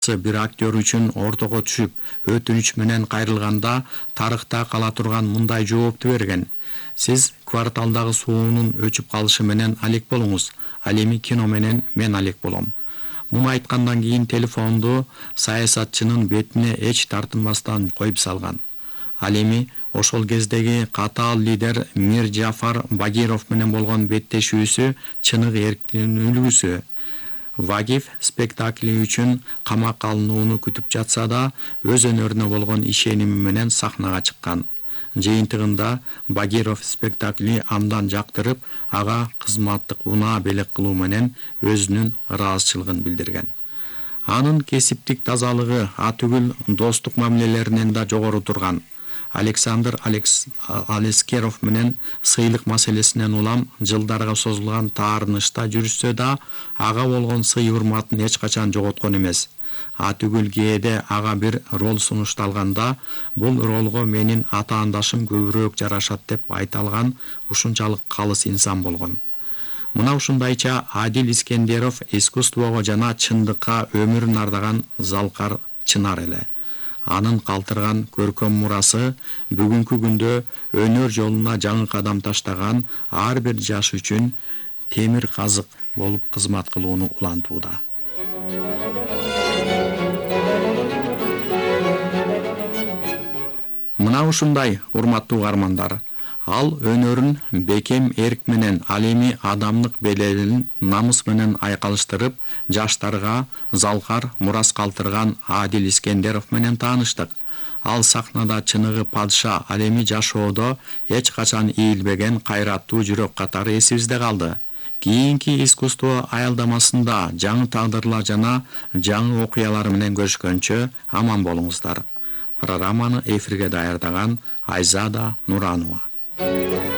бир актер үчүн ортого түшүп, өтүнүч менен кайрылганда тарыхта кала турган мындай жоопту берген: сиз кварталдагы суунун өчүп калышы менен алек болуңуз, ал эми кино менен мен алек болом. Муну айткандан кийин телефонду саясатчынын бетине эч тартынбастан коюп салган. Ал эми ошол кездеги катаал лидер Мир Джафар Багиров менен болгон беттешүүсү чыныгы эрктин үлгүсү. Вагиф спектакли үчүн камакка алынууну күтүп жатса да, өз өнөрүнө болгон ишеними менен сахнага чыккан. Жыйынтыгында Багиров спектакли абдан жактырып, ага кызматтык унаа белек кылуу менен өзүнүн ыраазычылыгын билдирген. Анын кесиптик тазалыгы атүгүл достук мамилелеринен да жогору турган. Александр Алескеров менен сыйлык маселесинен улам жылдарга созулган таарынышта жүрүшсө да, ага болгон сый-урматын эч качан жоготкон эмес. Атүгүл кээде ага бир роль сунушталганда, бул ролго менин атаандашым көбүрөөк жарашат деп айта алган ушунчалык калыс инсан болгон. Мына ушундайча Адил Искендеров искусствого жана чындыкка өмүрүн ардаган залкар чынар эле. Анын калтырган көркөм мурасы бүгүнкү күндө өнөр жолуна жаңы кадам таштаган ар бир жаш үчүн темир казык болуп кызмат кылууну улантууда. Мына ушундай, урматтуу угармандар, ал өнөрүн бекем эрк менен, ал эми адамдык белелин намыс менен айкалыштырып, жаштарга залкар мурас калтырган Адил Искендеров менен тааныштык. Ал сахнада чыныгы падыша, ал эми жашоодо эч качан ийилбеген кайраттуу жүрөк катары эсибизде калды. Кийинки искусство аялдамасында жаңы тагдырлар жана жаңы окуялар менен көрүшкөнчө аман болуңуздар. Программаны эфирге даярдаган Айзада Нуранова.